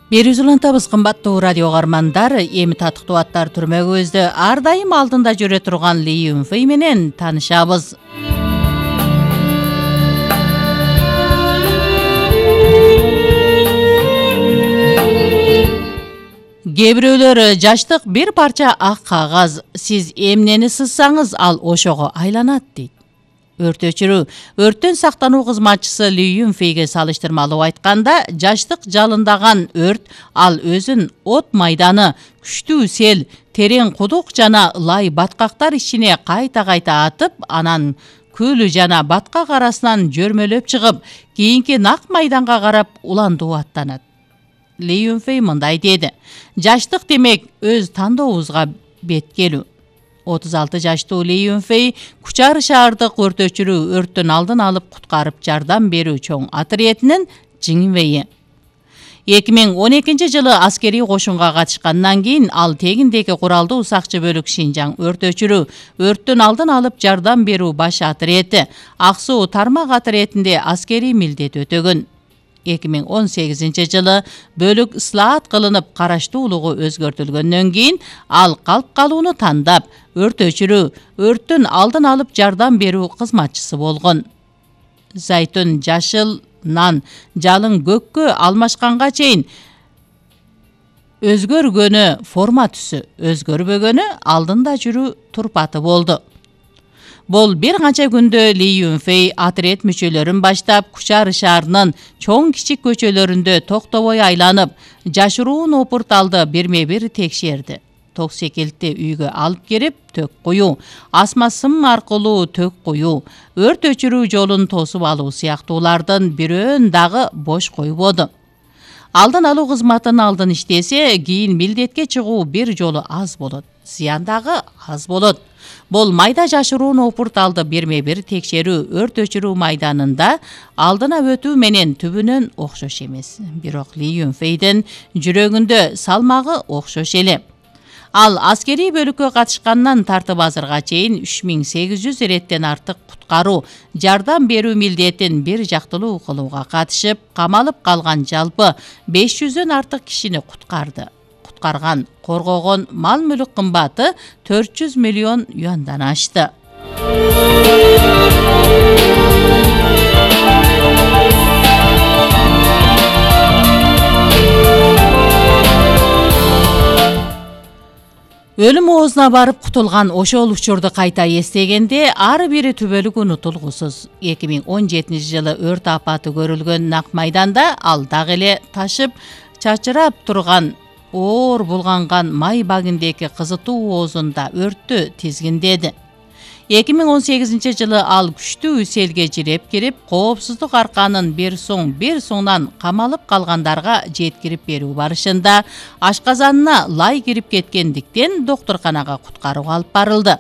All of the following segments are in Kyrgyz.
Берүүs улантабыз кымбаттуу радио каармандар, эми татыктуу аттар түрмөгүбүздө ар дайым алдында жүрө турган Ли Юнфэй менен таанышабыз. Кээ бирөөлөр жаштык бир парча ак кагаз, сиз эмнени сызсаңыз ал ошого айланат дейт. Өрттөн сактануу кызматчысы Ли Юнфэйге салыштырмалуу айтканда, жаштык жалындаган өрт ал өзүн от майданы, күчтүү сел, терең кудук жана лай баткактар ичине кайта-кайта атып, анан көл жана баткак арасынан жөрмөлөп чыгып, кийинки нак майданга карап уландуу аттанат. Ли Юнфэй мындай деди: жаштык демек өз тандообузга беткелүү. 36 жаштуу Ли Юнфэй Кучар шаардык өртөчүрүү өрттөн алдын алып куткарып жардам берүү чоң отрядынын жиңибейи. 2012 жылы аскерий кошунга катышкандан кийин ал тегиндеги куралдуу сакчы бөлүк Шинжаң өртөчүрүү өрттөн алдын алып жардам берүү баш отрети Ак суу тармак отрядинде аскерий милдет өтөгөн. 2018 жылы бөлүк ислаат кылынып караштуулугу өзгөртүлгөндөн кийин ал калп калууну тандап, өртөчүрүү өрттөн алдын алып жардам берүү кызматчысы болгон. Зайтун жашылнан жалың көккө алмашканга чейин өзгөргөнү форма түсү, өзгөрбөгөнү алдында жүрүү турпаты болду. Бул бир канча күндө Ли Юнфэй отряд мүчөлөрүн баштап Кучар шаарынын чоң кичик көчөлөрүндө токтобой айланып, жашыруун опурталды бирме-бир текшерди. Ток секилтти үйгө алып кирип, төк куюу, асма сым аркылуу төк куюу, өрт өчүрүү жолун тосуп алуу сыяктуулардын бирөөн дагы бош койбоду. Алдын алуу кызматын алдын иштесе, кийин милдетке чыгуу бир жолу аз болот, зыян дагы аз болот. Бул майда жашыруун опурталды бирме-бир текшерүү өрт өчүрүү майданында алдына өтүү менен түбүнөн окшош эмес. Бирок Ли Юнфэйдин жүрөгүндө салмагы окшош эле. Ал аскерий бөлүккө катышкандан тартып азырга чейин 3800 иреттен артык куткаруу, жардам берүү милдетин бир жактылуу кылууга катышып, камалып калган жалпы 500дөн артык кишини куткарды. Куткарган, коргогон мал-мүлүк кымбаты 400 миллион юандан ашты. Өлүм оозуна барып кутулган ошол учурду кайта эстегенде ар бири түбөлүк унутулгусуз. 2017 жылы өрт апаты көрүлгөн нак майданда ал дагы эле ташып, чачырап турган оор булганган май багиндеги кызытуу оозунда өрттү тизгиндеди. 2018 жылы ал күчтүү селге жиреп кирип, коопсуздук арканын бир соңунан камалып калгандарга жеткирип берүү барышында ашказанына лай кирип кеткендиктен доктурканага куткарууга алып барылды.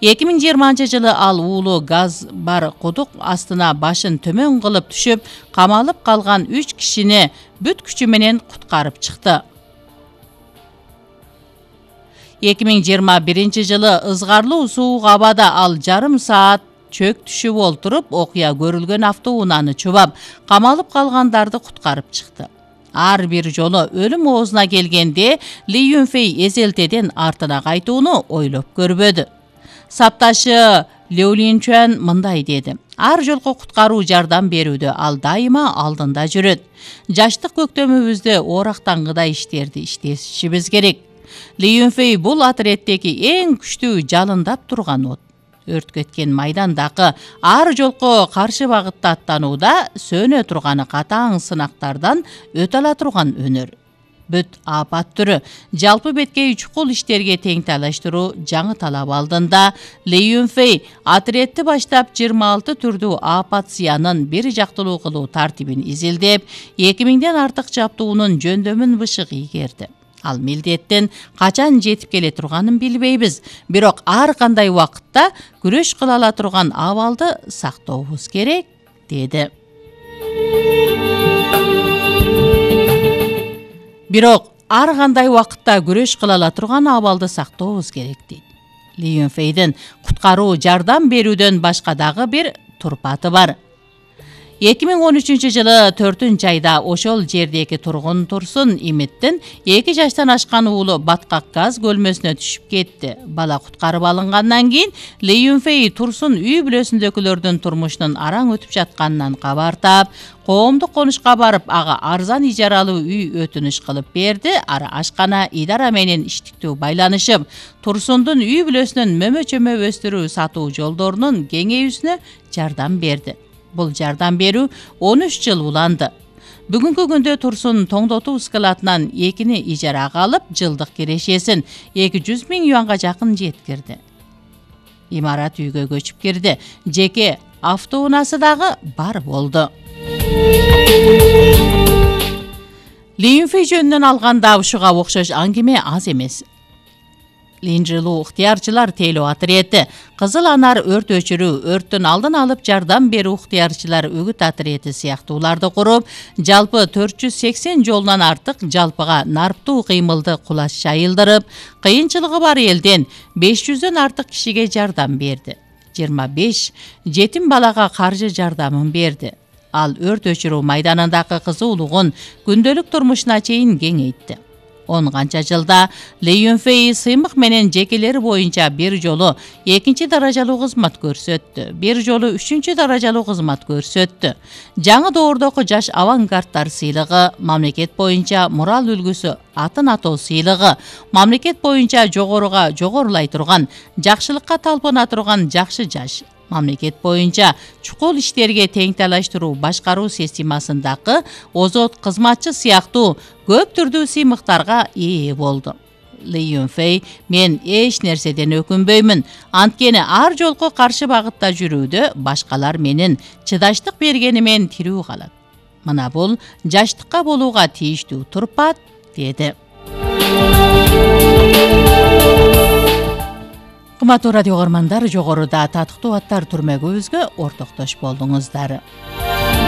2020 жылы ал уулу газ бар кудук астына башын төмөн кылып түшүп, камалып калган 3 кишини бүт күчү менен куткарып чыкты. 2021 жылы ызгарлуу суук абада ал жарым саат чөк түшүп олтуруп, окуя көрүлгөн автоунааны чубап, камалып калгандарды куткарып чыкты. Ар бир жолу өлүм оозуна келгенде Ли Юнфэй эзелтеден артына кайтууну ойлоп көрбөдү. Сапташы Леолинчуан мындай деди: ар жолку куткаруу жардам берүүдө ал дайыма алдында жүрөт. Жаштык көктөмүбүздө оорактангыдай иштерди иштешибиз керек. Ли Юнфэй бул отряддеги эң күчтүү жалындап турган от. Өрт кеткен майдандагы ар жолку каршы багытта аттанууда сөнө турганы катаң сынактардан өтө ала турган өнөр. Бүт апат түрү жалпы беткей чукул иштерге тең талаштыруу жаңы талап алдында Ли Юнфэй отрядды баштап 26 түрдүү апат зыянын бир жактылуу кылуу тартибин изилдеп, 2000ден артык жаптуунун жөндөмүн бышык ийгерди. Ал милдеттен качан жетип келе турганын билбейбиз, бирок ар кандай убакытта күрөш кыла ала турган абалды сактообуз керек, деди. Ли Юнфэйдин куткаруу жардам берүүдөн башка дагы бир турпаты бар. 2013-жылы 4-айда ошол жердеги тургун Турсун Имиттин 2 жаштан ашкан уулу баткак газ көлмөсүнө түшүп кетти. Бала куткарып алынгандан кийин Ли Юнфэй Турсун үй бүлөсүндөгүлөрдүн турмушунун араң өтүп жатканынан кабар таап, коомдук конушка барып, ага арзан ижаралуу үй өтүнүш кылып берди. Ара ашкана идара менен иштиктүү байланышып, Турсундун үй бүлөсүнүн мөмө-чөмө өстүрүү сатуу жолдорунун кеңейүүсүнө жардам берди. Бул жардам берүү 13 жыл уланды. Бүгүнкү күндө Турсун тоңдотуу складынан 2 ижарага алып, жылдык кирешесин 200 000 юанга жакын жеткирди. Имарат үйгө көчүп кирди. Жеке автоунаасы дагы бар болду. Ли Юнфэй жөнүнөн алганда ушуга окшош аңгеме аз эмес. Линжилуу ыктыярчылар тейлөө отряды, Кызыл Анар өрт өчүрүү, өрттүн алдын алып жардам берүү ыктыярчылар үгүт отряды сыяктууларды куруп, жалпы 480 жолунан артык жалпыга нарптуу кыймылды кулаш жайылдырып, кыйынчылыгы бар элден 500дөн артык кишиге жардам берди. 25 жетим балага каржы жардамын берди. Ал өрт өчүрүү майданындагы кызуулугун күндөлүк турмушуна чейин кеңейтти. 10 канча жылда Ли Юнфэй сыймык менен жекелери боюнча бир жолу 2 даражалуу кызмат көрсөттү, бир жолу 3 даражалуу кызмат көрсөттү. Жаңы доордогу жаш авангардтар сыйлыгы, мамлекет боюнча мурал үлгүсү атын атоо сыйлыгы, мамлекет боюнча жогорулай турган, жакшылыкка талпына турган жакшы жаш, мамлекет боюнча чукул иштерге тең талаштыруу башкаруу системасындагы озот кызматчы сыяктуу көп түрдүү сыймыктарга ээ болду. Ли Юнфэй: "Мен эч нерседен өкүнбөймүн. Анткени ар жолку каршы багытта жүрүүдө башкалар менин чыдаштык бергенимен тирүү калат. Мына бул жаштыкка болууга тийиштүү турпат", деди. Кымбаттуу радио көрөрмандар, жогоруда татыктуу аттар түрмөгүбүзгө ортоктош болдуңуздар.